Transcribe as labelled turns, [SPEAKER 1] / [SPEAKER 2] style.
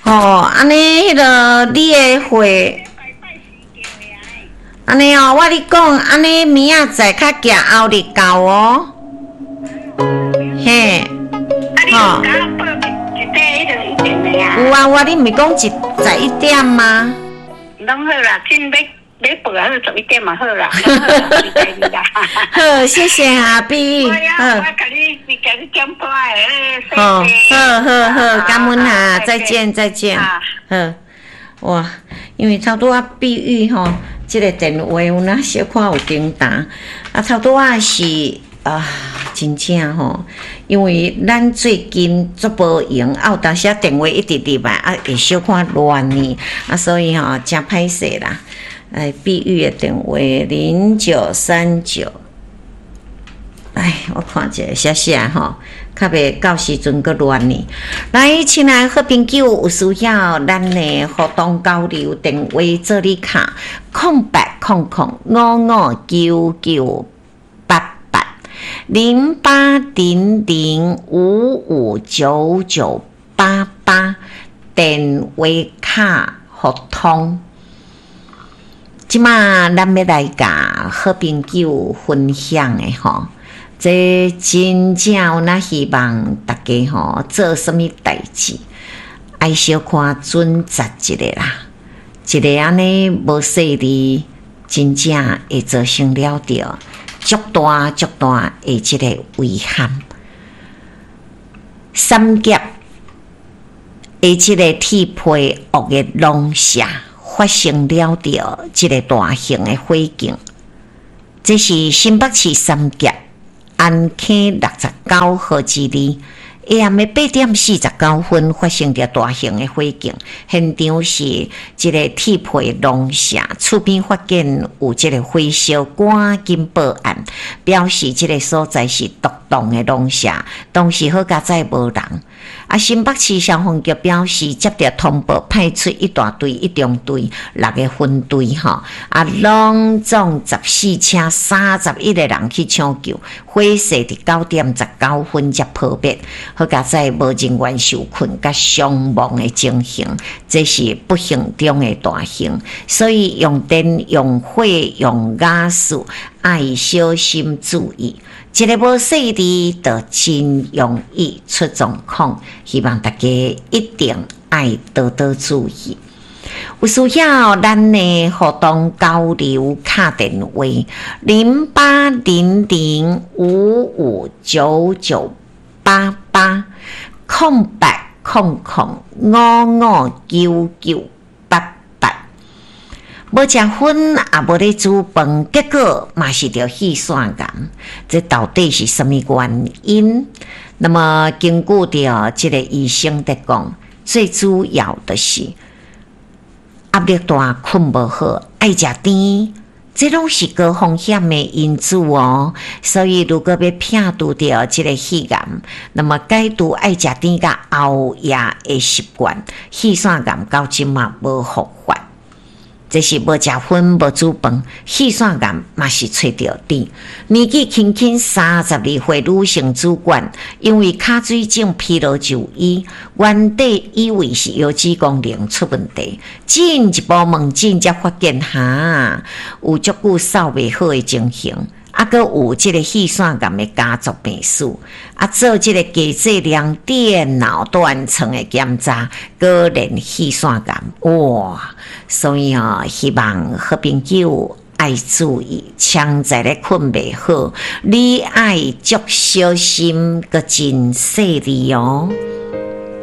[SPEAKER 1] 吼，按呢彼个你的貨，按呢哦，我你講，按呢明仔載較行後日到哦。嘿，
[SPEAKER 2] 吼。
[SPEAKER 1] 有啊有啊，你毋是講一11點嗎？
[SPEAKER 2] 攏好啦，真欲欲報好11點嘛好啦。
[SPEAKER 1] 好，謝謝阿碧。
[SPEAKER 2] 好，我共你共你點播的。
[SPEAKER 1] 好，好好好，感恩啊，再見再見。好，哇，因為頭拄仔碧玉吼，這个電話有哪小可有叮當，啊頭拄仔是啊，真正吼，因為咱最近足無閒，啊有當時仔電話一直入來，啊會小可亂呢，啊所以吼誠歹勢啦。哎，碧玉的電話0939，哎，我看一下寫寫吼，較袂到時陣閣亂呢。來，親愛好朋友，有需要咱的互動交流電話做你卡，0800559988，0800559988，電話卡互通。這馬咱欲來共好朋友分享的吼，這真正有哪希望大家吼做啥物代誌，愛小可準則一下啦，一个按呢無細膩，真正會造成了著足大足大的這个遺憾。三峽的這个鐵皮屋的農舍發生了著這个大型的火警，這是新北市三峽安坑69號之二，下暗的8點49分發生著大型的火警，現場是這个鐵皮農舍，厝邊發現有這个火燒，趕緊報案，表示這个所在是獨棟的農舍，當時好佳哉無人。啊，新北市消防局表示，接著通報，派出一大隊、一中隊六个分隊，吼，啊，攏總14車31個人去搶救，火勢佇9點19分才撲滅，好佳哉無人員受困佮傷亡的情形，這是不幸中的大幸。所以用電、用火、用瓦斯，愛小心注意。一个無細膩，就真容易出狀況。希望大家一定愛多多注意。有需要咱的互動交流敲電話0800559988，0800559988。無食薰，也無咧煮飯，結果嘛是著肺腺癌，這到底是啥物原因？那麼根據著這个醫生佇講，最主要的是壓力大、睏無好、愛食甜，這攏是高風險的因子哦。所以如果欲摒除著這个肺癌，那麼戒除愛食甜佮熬夜的習慣，肺腺癌到這馬無復發。這是無食薰、無煮飯，肺腺癌嘛是揣著甜。年紀輕輕32歲女性主管，因為跤水腫疲勞就醫，原底以為是腰子功能出問題，進一步問診才發現哈，有足久掃袂好的情形，啊，閣有這个肺腺癌的家族病史，啊，做這个低劑量電腦斷層的檢查，果然肺腺癌，哇！所以哦，希望好朋友愛注意，常在咧睏袂好，你愛足小心，閣真細膩哦。